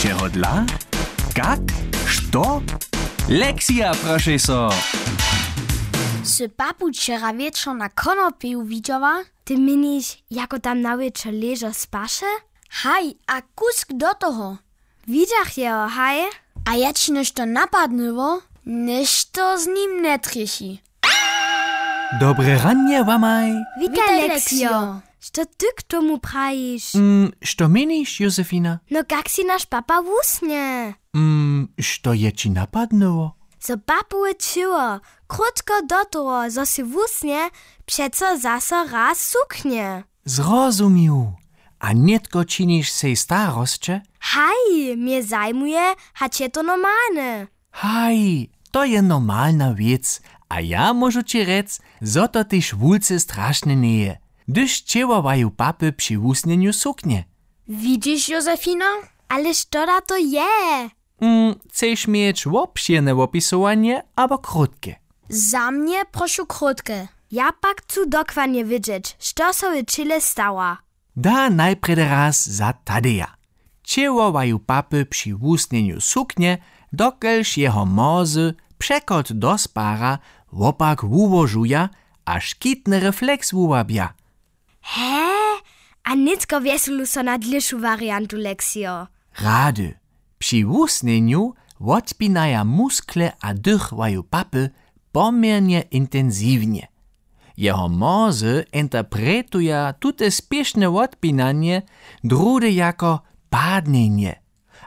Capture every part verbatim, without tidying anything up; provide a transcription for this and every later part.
Čehodla? Kak? Što? Lexija, prošej so. Sy papu wčera wječor na konopiju widźała? Ty měniš, jako tam na wječor ležo spaše? Haj, a kusk do toho. Widźach jeho, haj. A je ći něšto napadnyło? Něšto z nim njetrjechi. Dobre ranje wamaj. Witaj, Lexio. Što ty k tomu prajiš? Mm, što měniš, Josefina? No, kak si naš papa wusnje? Mm, što je ći napadnyło? Zo papowe ćěło, krótko do toho, zo sy wusnje, přeco zaso raz suknje. Zrozumił. A nětko činiš sej starosće? Haj, mje zajmuje, hač je to normalne. Haj, to je normalna wěc. A ja móžu ći rjec, zo to tež wulce strašne njeje, hdyž ćěłowaju papy při wusnjenju suknje. Widźiš, Josefina? Ale što da to je? Mm, chceš měć wobšěrne wopisowanje abo krótke? Za mnje prošu krótke. Ja pak chcu dokładnje wědźeć, što so w ćěle stała. Da najprjedy raz za Tadeja. Ćěłowaju papy při wusnjenju suknje, dokelž jeho mórze přechod do spara wopak wułožuja a škitny refleks wuwabja. He? A nětko wjeselu so na dlěšu wariantu, Lexio. Rady. Při wusnjenju wotpinaja muskle a dychwaju papy poměrnje intensiwnje. Jeho mórze interpretuja tute spěšne wotpinanje druhdy jako padnjenje.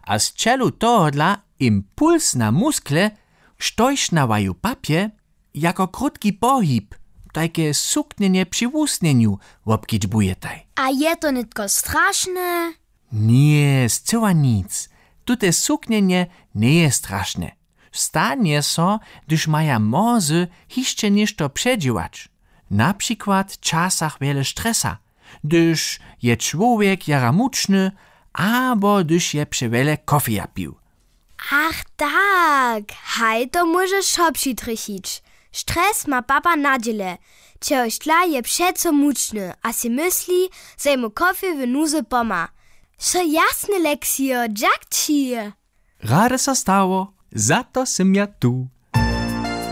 A z ćelu tohodla impuls na muskle, štož na waju papje, jako krótki pohib, tajke suknjenje při wusnjenju wobkedźbujetaj. A je to nětko strašne? Nje, scyła nic. Tute suknjenje njeje strašne. Stanje so, hdyž maja mórze hišće něšto předźěłać, na přikład w časach wjele stresa, hdyž je čłowjek jara mučny abo hdyž je přewjele kofeja pił. Ach tak, haj, to móže wšo přitrjechić. Stres ma papa na dźěle, čehož dla je přeco mučny a sej mysli, zo jemu kofej w nuzy pomha. Wšo jasne, Lexio, dźak ći. Rady so stało, za to sym ja tu.